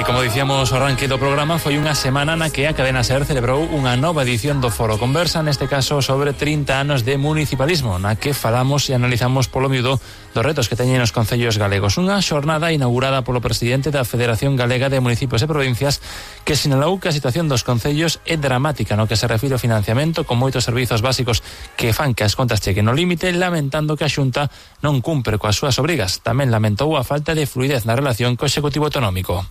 Como dicíamos ao arranque do programa, foi unha semana na que a Cadena SER celebrou unha nova edición do Foro Conversa, neste caso sobre 30 anos de municipalismo, na que falamos e analizamos polo miúdo dos retos que teñen os concellos galegos. Unha xornada inaugurada polo presidente da Federación Galega de Municipios e Provincias, que sinalou que a situación dos concellos é dramática no que se refire ao financiamento, con moitos servizos básicos que fan que as contas chequen no límite, lamentando que a Xunta non cumpre coas súas obrigas. Tamén lamentou a falta de fluidez na relación co Executivo Autonómico.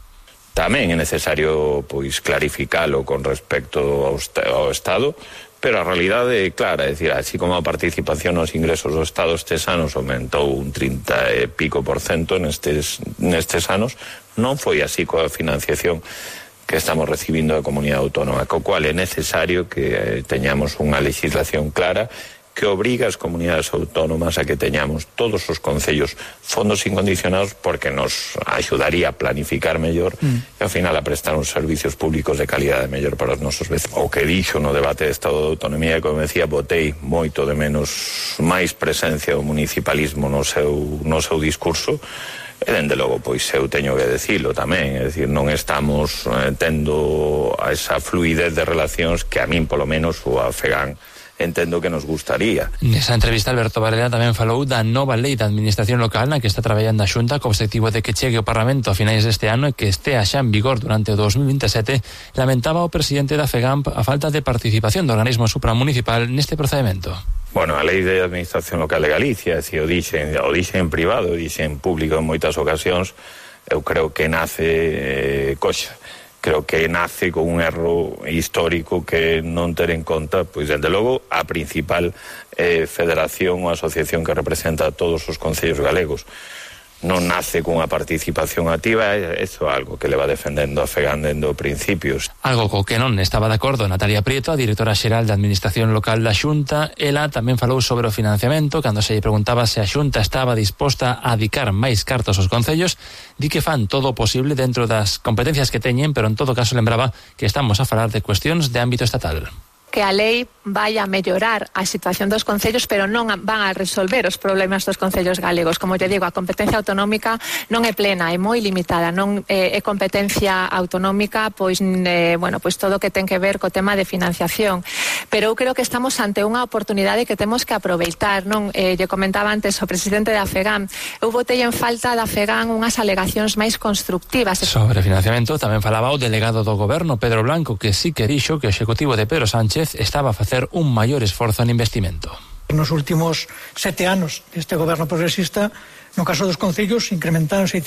Tamén é necesario clarificalo con respecto ao Estado, pero a realidade é clara, é dicir, así como a participación nos ingresos do Estado estes anos aumentou un 30 e pico % nestes anos, non foi así coa financiación que estamos recibindo da comunidade autónoma, co cual é necesario que teñamos unha legislación clara que obriga as comunidades autónomas a que teñamos todos os concellos fondos incondicionados, porque nos axudaría a planificar mellor e ao final a prestar uns servicios públicos de calidade mellor para os nosos vecinos. O que dixo no debate de Estado de Autonomía, como decía, botei moito de menos máis presencia do municipalismo no seu discurso. E, dende logo, pois eu teño que decilo tamén, é dicir, non estamos tendo esa fluidez de relacións que a min, polo menos, o a FEGAN entendo que nos gustaría. Nesa entrevista, Alberto Varela tamén falou da nova lei da administración local na que está traballando a Xunta co obxectivo de que chegue ao Parlamento a finais deste ano e que estea xa en vigor durante o 2027. Lamentaba o presidente da FEGAMP a falta de participación do organismo supramunicipal neste procedimento. Bueno, a lei de administración local de Galicia, se o dixen en privado, o dixen en público en moitas ocasións, eu creo que nace coxa. Creo que nace con un erro histórico que non ter en conta, pois, desde logo, a principal federación ou asociación que representa a todos os concellos galegos. Non nace cunha participación activa, iso é algo que le va defendendo a FEGAN dende os principios. Algo co que non estaba de acordo Natalia Prieto, a directora xeral de Administración Local da Xunta. Ela tamén falou sobre o financiamento, cando se lle preguntaba se a Xunta estaba disposta a adicar máis cartos aos concellos. Di que fan todo o posible dentro das competencias que teñen, pero en todo caso lembraba que estamos a falar de cuestións de ámbito estatal. Que a lei vai a mellorar a situación dos concellos, pero non van a resolver os problemas dos concellos galegos. Como te digo, a competencia autonómica non é plena, é moi limitada, non é competencia autonómica, pois todo o que ten que ver co tema de financiación. Pero eu creo que estamos ante unha oportunidade que temos que aproveitar, non? Lle comentaba antes o presidente da FEGAN, eu botei en falta da FEGAN unhas alegacións máis constructivas. Sobre financiamento tamén falaba o delegado do goberno, Pedro Blanco, que sí que dixo que o executivo de Pedro Sánchez estaba a facer un maior esforzo en investimento. Nos últimos 7 anos deste goberno progresista, no caso dos concellos, incrementáronse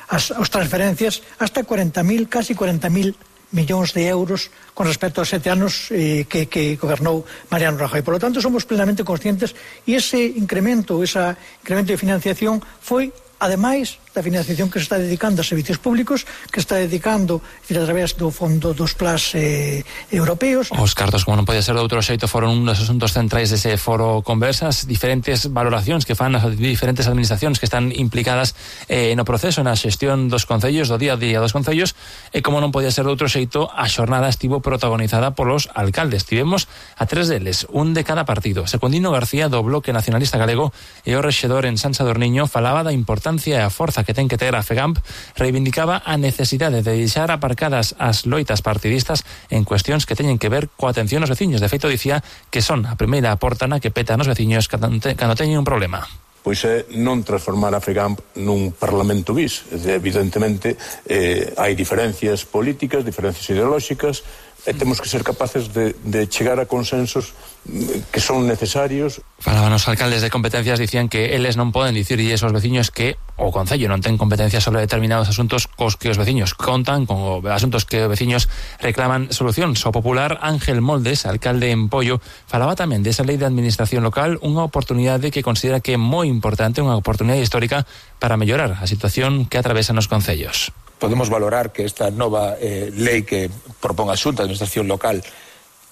as transferencias hasta casi 40.000 millóns de euros con respecto aos 7 anos que gobernou Mariano Rajoy. Por lo tanto, somos plenamente conscientes e ese incremento de financiación foi ademais da financiación que se está dedicando a servicios públicos, que está dedicando a través do fondo dos plans europeos. Os cartos, como non podía ser de outro xeito, foron un dos asuntos centrais dese foro Conversas, diferentes valoracións que fan as diferentes administracións que están implicadas no proceso, na xestión dos concellos, do día a día dos concellos, e como non podía ser de outro xeito, a xornada estivo protagonizada polos alcaldes. Tivemos a 3 deles, un de cada partido. Secundino García, do Bloque Nacionalista Galego, e o rexedor en San Sadurniño, falaba da importancia e a forza que ten que ter a FEGAMP, reivindicaba a necesidade de deixar aparcadas as loitas partidistas en cuestións que teñen que ver coa atención aos veciños. De feito, dicía que son a primeira porta na que petan os veciños cando teñen un problema. Pois é non transformar a FEGAMP nun parlamento bis. Evidentemente, hai diferencias políticas, diferencias ideolóxicas, e temos que ser capaces de chegar a consensos que son necesarios. Falaban os alcaldes de competencias, dicían que eles non poden dicirlles aos veciños que o concello non ten competencias sobre determinados asuntos cos que os veciños contan, con asuntos que os veciños reclaman solucións. O popular Ángel Moldes, alcalde en Pollo, falaba tamén desa lei de administración local, unha oportunidade que considera que é moi importante, unha oportunidade histórica para mellorar a situación que atravesan os concellos. Podemos valorar que esta nova lei que propón a Xunta de Administración Local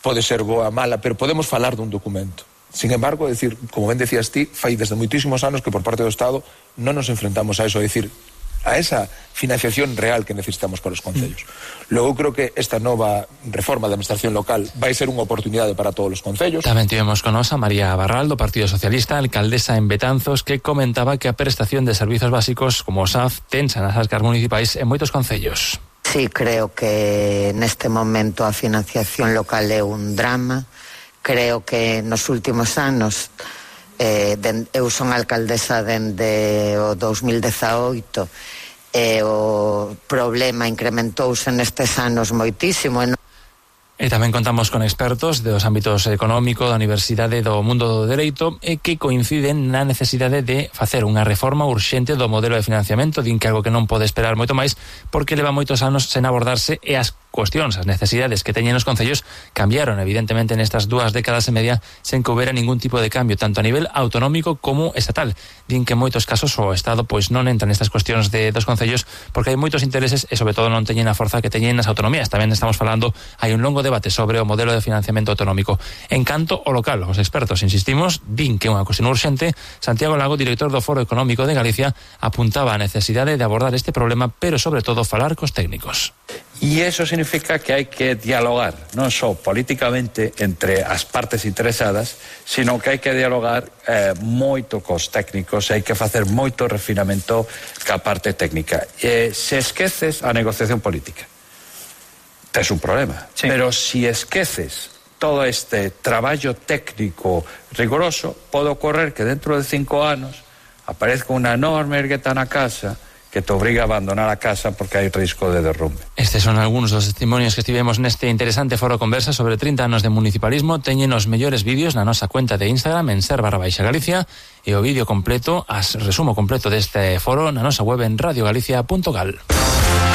pode ser boa, mala, pero podemos falar dun documento. Sin embargo, como ben decías ti, fai desde moitísimos anos que por parte do Estado non nos enfrentamos a eso, é dicir, a esa financiación real que necesitamos para os concellos. Logo creo que esta nova reforma da administración local vai ser unha oportunidade para todos os concellos. Tamén tivemos con nos a María Barral do Partido Socialista, alcaldesa en Betanzos, que comentaba que a prestación de servizos básicos como o SAF tensa nas arcas municipais en moitos concellos. Sí, creo que neste momento a financiación local é un drama. Creo que nos últimos anos eu son alcaldesa dende o 2018 e o problema incrementouse nestes anos moitísimo. E tamén contamos con expertos dos ámbitos económico, da universidade, do mundo do dereito, e que coinciden na necesidade de facer unha reforma urxente do modelo de financiamento, din que algo que non pode esperar moito máis, porque leva moitos anos sen abordarse e as cuestións, as necesidades que teñen os concellos cambiaron evidentemente nestas 2 décadas e media sen que houbera ningún tipo de cambio, tanto a nivel autonómico como estatal. Din que en moitos casos o Estado pois non entra nestas cuestións dos concellos porque hai moitos intereses e sobre todo non teñen a forza que teñen as autonomías. Tamén estamos falando, hai un longo debate sobre o modelo de financiamento autonómico. En canto ao local, os expertos, insistimos, din que é unha cuestión urxente. Santiago Lago, director do Foro Económico de Galicia, apuntaba a necesidade de abordar este problema, pero sobre todo falar cos técnicos. Y eso significa que hay que dialogar, non só políticamente entre as partes interesadas, sino que hai que dialogar moito cos técnicos, hai que facer moito refinamento ca parte técnica. Se esqueces a negociación política, tes un problema. Sí. Pero si esqueces todo este traballo técnico rigoroso, pode ocorrer que dentro de 5 anos aparezca unha enorme ergueta na casa que te obriga a abandonar a casa porque hai risco de derrumbe. Estes son algúns dos testimonios que estivemos neste interesante foro conversa sobre 30 anos de municipalismo. Teñen os mellores vídeos na nosa cuenta de Instagram en @Galicia e o vídeo completo, resumo completo deste foro na nosa web en radiogalicia.gal.